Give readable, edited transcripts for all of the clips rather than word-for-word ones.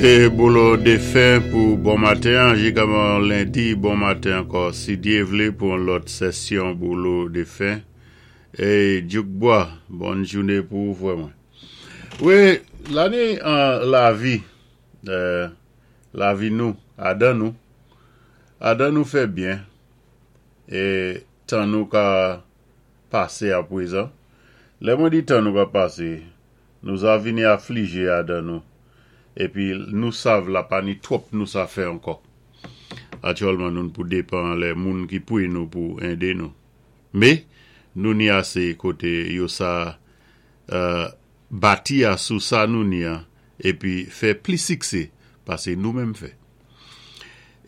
Se Bolo defen pou bon maten an, jigaman lendi bon maten ankò si Dye vle pou yon lòt sesyon Bolo defen. Ey Djouk Bwa, bòn joune pou ou frè mwen. Wi, lane an lavi, lavi nou, adan nou, adan nou fè byen e tan nou ka pase aprezan. Lè mwen di tan nou ka pase, Nou za vini aflije adan nou, épi nou sav la pa ni twòp nou sa fè ankò. Atyèlman noun pou depan anlè moun ki pwi nou pou ende nou. Mé, nou ni asé koté yo sa bati a sou sa nou ni an épi fè pli siksé pasé nou menm fè.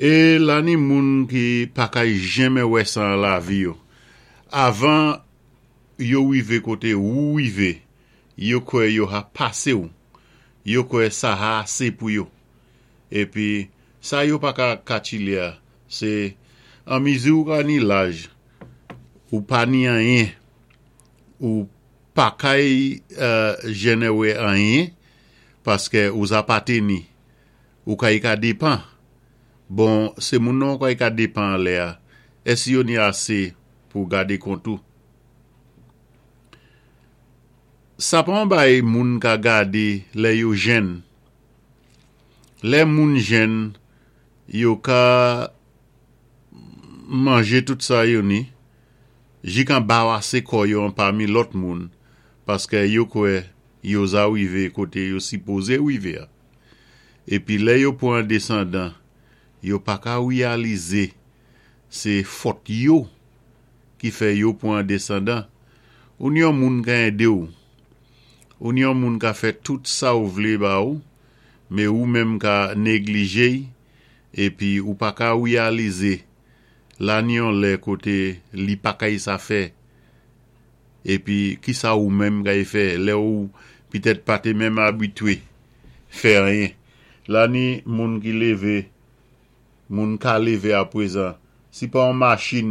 É la ni moun ki pa kay jenmen wè sa an lavi yo. Avan yo wivé koté wou wivé, Yo kwè yo ha pase w. Yo kwè sa ha ase pou yo. Epi, sa yo pa ka katchile a, se, an mizi ou ka ni laj, ou pa ni anyen, ou pa kay jennen wè anyen, paske ou za pa te ni. Ou kay ka depan. Bon, se moun nan ou kay ka depan anlè a, èsi yo ni ase pou gade kont ou? Sa pa yon bagay moun ka gade lè yo jenn. Lè moun jenn, yo ka manje tout sa yo ni, jik anbarase kò yo anpami lòt moun, paske yo kwè yo za rive kote yo sipoze rive a. Epi lè yo pran desandan, yo pa ka reyalize se fòt yo ki fè yo pran desandan. Ou ni yon moun ka ede w. Ou ni yon moun ka fè tout sa w vle ba ou, me ou menm ka neglije y epi ou pa ka reyalize la ni yon lè kote li pa kay sa fè. Epi kisa ou menm kay fè lè ou pitèt pa te menm abitwe fè anyen. La ni moun ki leve Moun ka leve aprezan. Si pa yon machin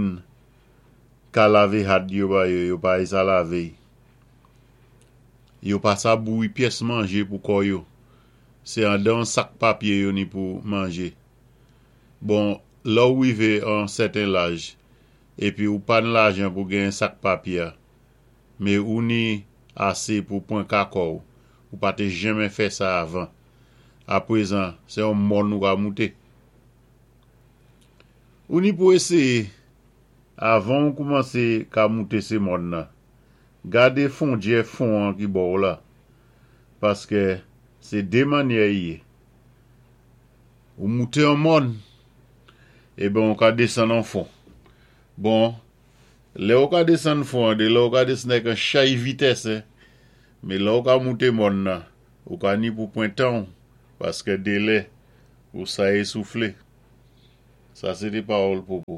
ka lave had yo ba yo, yo pa sa lave. Yo pa sa bouyi pyès manje pou kò yo. Se andan yon sak papye yo ni pou manje. Bon, lè ou rive an sèten laj, epi ou pa n lajan pou genyen sak papye a, me ou ni ase pou pran ka kò ou, ou pa te jenmen fè sa avan. Aprezan, se yon mòn ou ka moute. Ou ni pou eseye, avan ou koumanse ka moute se mòn nan. Gade fondyè fon an ki bò w la. Paske se de mannyè i ye. Ou moute yon mòn, eben ou ka desann an fon. Bon, lè ou ka desann fon an, de lè ou ka desann ak yon chay vitès, men lè ou ka moute mòn nan, Ou ka ni pou pwen tan w, paske delè ou sa esoufle. Sa se te pawòl Popo.